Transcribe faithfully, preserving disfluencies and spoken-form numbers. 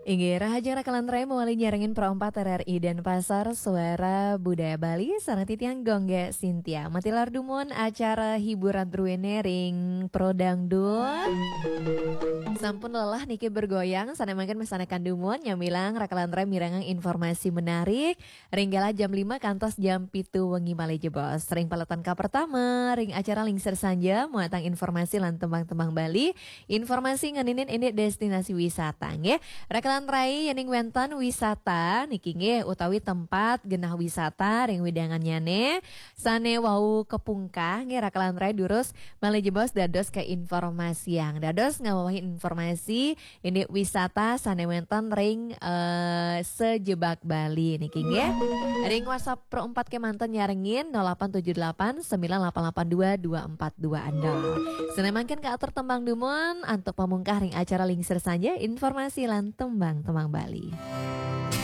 Inggih, rahajeng rakalan rai mawali nyarengin Pro empat R R I Denpasar, Suara Budaya Bali, sareng titiang Gongge Sintia. Matilar dumun acara hiburan druene ring Pro Dangdut. Sampun lelah niki bergoyang, sane mangkin mesanekan dumun, nyamilang rakalan rai mirengang informasi menarik, ring galah jam lima kantos jam pitu wengi malih jebos. Ring paletan kapertama, ring acara Lingsir Sanja, muatang informasi lan tembang-tembang Bali, informasi ngeninin indik destinasi wisata, nggih. Rakalan rai yening wenten wisata niki nggih utawi tempat genah wisata ring wewidangannyane sane wau kapungkah nggih rakalan rai durus malih jebos dados kainformasiang. Dados ngawewehi informasi indik wisata sane wenten ring, eh, sajebag Bali niki nggih. Ring WhatsApp Pro empat kemanten nyarengin nol delapan tujuh delapan sembilan delapan delapan dua dua empat dua nol. Sane mangkin kaatur tembang dumun antuk pamungkah ring acara Lingsir Sanja, informasi lan tembang-tembang Bali.